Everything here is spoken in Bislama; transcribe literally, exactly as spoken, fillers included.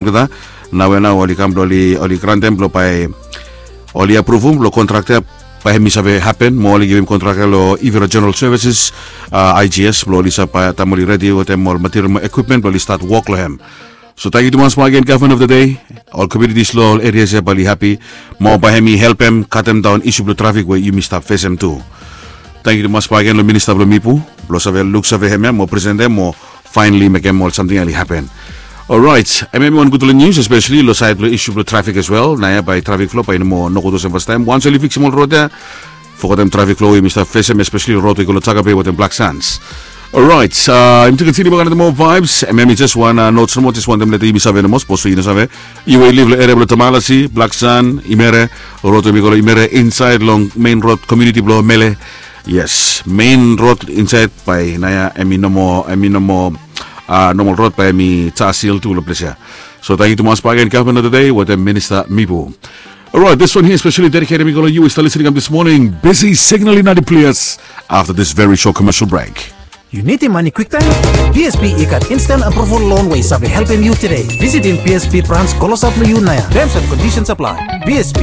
olgeta. Naoia nao oli kam blong oli grantem blong bae oli apruvum blong kontrak ya bae hem i save hapen mo oli givim kontrak ya long Ivira General Services, a, I G S, blong oli save, taem oli redi wetem ol material mo ekwipmen blong oli stat wok long hem. So tangkiu tumas bakegen, gavman of the day. Ol komunitis long ol erias ya bae oli hapi mo bae hem i helpem katem daon isu blong trafik we yumi stap fesem tu. Tangkiu tumas bakegen long minista blong Mipu blong save luksave hem ya mo presentem mo faenali mekem ol samting ya oli hapen. Orait, hemia hemi wan gudfala nius, espeseli long saed blong isu blong trafik as well. Naoia bae trafik flo bae i no moa nogud olsem fastaem. Wans oli fiksim ol rod ya, fogetem trafik flo we yumi stap fesem, espeseli rod we i go long Takape wetem Blak Sans. Orait, yumi tu kontiniu bak another more vibes. Hemia hemi jes wan notes nomo, jes wantem letem yumi save nomo, sapos we yu no save, yu we yu liv long eria blong Tamalasi, Blak Sans, Imere, rod we i go long Imere insaed long mein rod komuniti blong Mele. Yes, mein rod insaed bae naoia hemi no moa, hemi no moa, a, nomol rod bae hemi tasil tu long ples ya. So tangkiu tumas bakegen, gavman of the day wetem minista Mipu. Orait, this one here especially dedicated mi go long yu we stap listening kam this morning. Busy signaling na di ples after this very short commercial break. Yu nidim mane kwiktaem? B S P i gat instant approval loan we i save helpem yu tede. Visitim B S P brans klosap long yu naoia. Terms and conditions apply. B S P